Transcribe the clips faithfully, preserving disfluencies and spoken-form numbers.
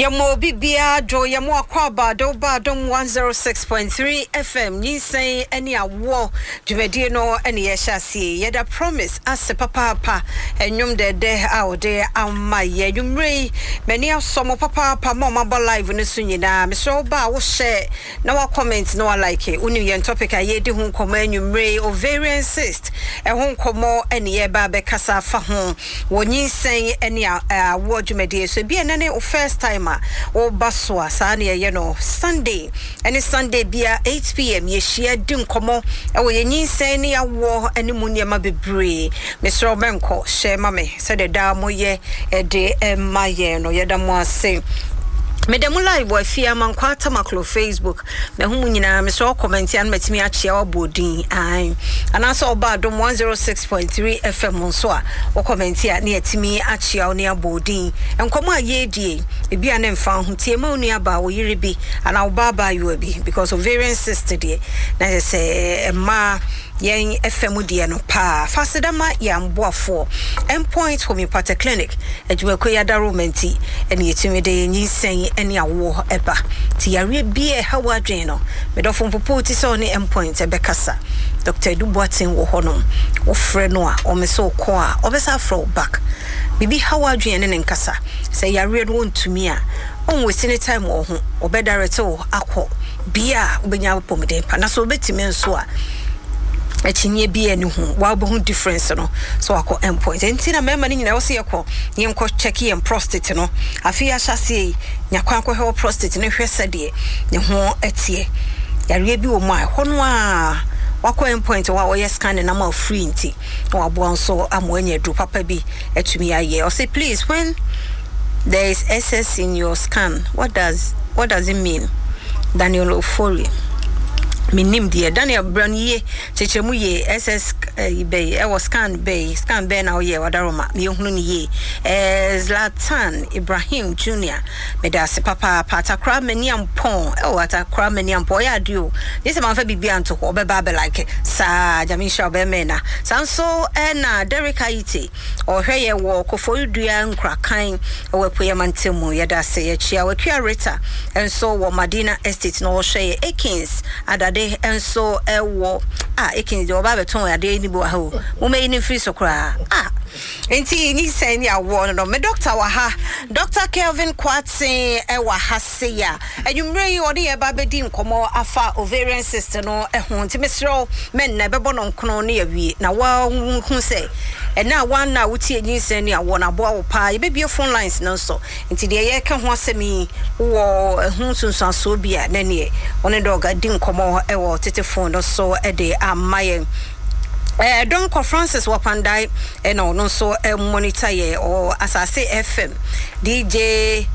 Yɛma obi biara dwo. Yɛma akɔ aba de woba Adom one oh six point three F M. Nyinsɛn ne awoɔ dwumadie no ne yɛhyɛ aseɛ. Yɛda Promise ase papaapa, ɛnwom dɛdɛ a wɔde ama yɛ nwummerɛ yi. M'ani asɔ mo papaapa ma ɔmabɔ live no so nyinaa. Mesrɛ wo ba a wohyɛ na wa comment na wa like. Wonim yɛn topic a yɛdi ho nkɔmmɔ anwummerɛ yi, ovarian cyst ɛho nkɔmmɔ ne yɛba bɛkasa afa ho wɔ nyinsɛn ne awoɔ dwumadie so. Ebi ɛnɛ ne wo first time a woba so a, saa ne yɛyɛ no Sunday ɛne Sunday bia eight p m. Yɛhyia di nkɔmmɔ ɛwɔ yɛn nyinsɛn ne awoɔ ne mu nneɛma bebree. Mesrɛ wo, mɛnkɔ hyɛ ma me sɛdeɛ daa moyɛ ɛde ɛma yɛn no. Yɛda mo ase. Meda mu live wɔ Afie Amankwa Tamaklo Facebook. Mahu mu nyinaa. Mesrɛ wo, comment a no matumi akyea wabɔ din ae, anaasɛ ɔba Adom one oh six point three F M nso a, wo comment a ne yɛtumi akyea wo ne abɔ din. Nkɔmmɔ a yɛredie, ebi a ne mfa ho tie ma wo nua baa, wo yere bi anaa wo baa baayewa bi, because ovarian cyst deɛ na kyerɛ sɛ mmaa yɛn F M deɛ no paa. Faseda ma yɛn aboafoɔ, Endpoint Homeopathic Clinic. Adwumakuo yi adaroma nti ɛne yɛtumi de nyinsɛn ne awoɔ ɛba. Nti yareɛ bi a ɛha w'adwene no, medɔfo, mpopo ti sɛ ɔne Endpoint ɛbɛkasa. Doctor Edu Boateng wɔ hɔnom. Wofrɛ no a, ɔme sɛ wokɔ a, ɔbɛsa afrɛ wo back. Biribi ha w'adwene ne ne nkasa sɛ yareɛ no wɔntumi a ɔnwasi ne time wɔ ho, ɔbɛdarete wo akɔ bia a wobɛnya apɔmuden pa. Na sɛ wobɛtumi nso a, akyinnye bi ani ho wa wobɛhu difference no so wakɔ Endpoint. Nti na mmarima no nyinaa wɔ sɛ yɛkɔ yɛnkɔ check yɛn prostate no. Afei ahyɛ aseɛ yi, nya kwan kɔhwɛ wɔ prostate no, hwɛ sɛdeɛ ne ho ɛteɛ. Yareɛ bi wɔ mu a ɛhɔ no a wakɔ Endpoint hɔ a wɔyɛ scan nam a free, nti na waboa nso ama wanya aduro papa bi atumi ayɛ. Ɔsɛ, "Please, when there is S S in your scan, what does what does it mean?" Daniel Ofori, menim deɛ Daniel brɛ no yie, kyekyɛ mu yie. S S eh, bɛyi ɛwɔ scan bɛyi, scan bɛɛ na woyɛ wadaroma meyɛhunu no yie. eh, zlatan Ibrahim Junior, meda ase papaapa. Atakora m'ani ampɔn ɛwɔ Atakora m'ani ampɔn, ɔyɛ adeɛ o gye sɛ mamfa biribi anto hɔ, ɔbɛba abɛlike saa. Nyame nhyira ɔbɛmɛn na saa nso. Ɛna Derek Ayite, ɔhwɛ yɛ wɔ Koforidua Nkurakan ɛwɔ Apueyama ntam mu. Yɛda ase, yɛkyia Wakua Rita nso wɔ Madina Estate na ɔhwɛ yɛ. Akins Adade nso ɛwɔ a Akins deɛ ɔba abɛtɔn adeɛ ni bi wɔ ha o, momɛyi ne mfiri so koraa a. Nti nyinsɛn ne awoɔ no no me doctor wɔ ha, Doctor Kelvin Kwaten ɛwɔ ha se a anwummerɛ yi ɔne yɛ ba bɛdi nkɔmmɔ afa ovarian cyst no ho. Nti mesrɛ wo, mɛnna ɛbɛbɔ no nkono ne yɛwie na woahu sɛ ɛna a woana a wotie nyinsɛn ne awoɔ no aboa wo paa. Yɛbɛbie phone lines no nso, nti deɛ yɛka ho asɛm yi, wowɔ ɛho nsunsuansoɔ bi a, na neɛ ɔne doc di nkɔmmɔ ɛwɔ tete phone no so de ama yɛn. Eh, Donkor Francis wɔ Kpandae, ɛna ɔno nso eh, monitor yɛ ɔ Asase F M. D J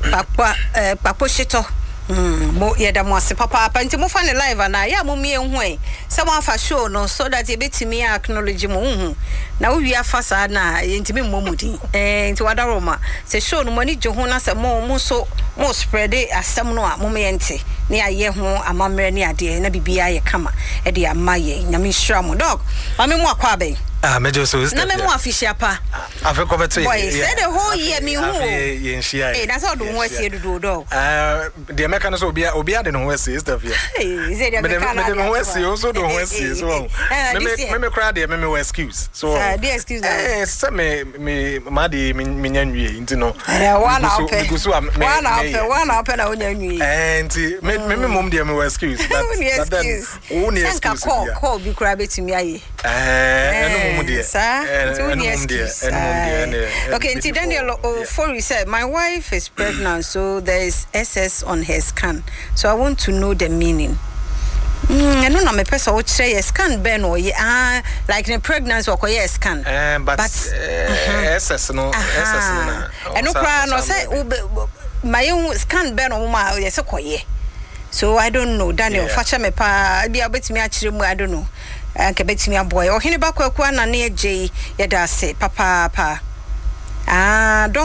Kpakpa, eh, Kpakpo Hyetɔ. Mm, mo yɛda mo ase papaapa. Nti mofa ne live anaa yɛ a, mommie hu ɛ sɛ moafa show no so that yɛbɛtumi acknowledge mo wohu na wowie afa saa na yɛntumi mmɔ mu din. eh, nti wadaro ma sɛ show no mo ani gye ho na sɛ mo mo nso mo spread asɛm no a, mom yɛnte ne ayɛ ho amammerɛ ne adeɛ na biribiara yɛ kama ɛde ama yɛn. Nyame nhyira mo. Doc, maame mu akɔ abɛn. Ah, mɛgye so. Na mɛmu afihyia pa. Afe kɔbɛto. Boy, sɛ the whole year mi hu o. Yɛnhyia. Ee, na sɛ ɔde ho asie dodo, Doc. Deɛ mɛka no sɛ obia obia de ne ho asie, sister Fia. Sɛ deɛ mede meka no mede me ho ade asie, wo nso de wo ho asie so. Eh, me this year. me me koraa deɛ, me me wɔ excuse so. Saa, deɛ excuse na eh sɛ me me maa de me menya nwie nti no. Eh, wa na megu so- wopɛ megu so a me wa na meyɛ. wopɛ, wa na wopɛ na wonya nwie. Eh, nti me me me mom deɛ, me wɔ excuse, but Wonni but then excuse. wo ni sɛ nka excuse call bia. Call bi koraa bɛtumi ayɛ. Eh, ɛno mom deɛ. Saa Eh, nti wonni ɛno mom deɛ excuse. ɛno mom deɛ Aye. ɛne Okay, nti Daniel Ofori said, "My wife is pregnant, so there is S S on her scan, so I want to know the meaning." Mm, ɛno na mepɛ sɛ wokyerɛ yɛ scan bɛn na ɔyɛ. Ah, like ne pregnancy ɔkɔyɛ scan. Eh, but, But- eh, S S no, S S no na ɛno ɔsa- koraa no ɔsa sɛ mmerɛ bi. wobe ma yɛhu scan bɛn na ɔmo ma yɛ sɛ kɔyɛ. So I don't know, Daniel. Yeah. Fa kyɛ me paa, bi a wobɛtumi akyerɛ mu. I don't know, anka bɛtumi aboa yɛ. Ɔhene ba Kwaku Anane Agye yi, yɛda ase papaapa. Ah, don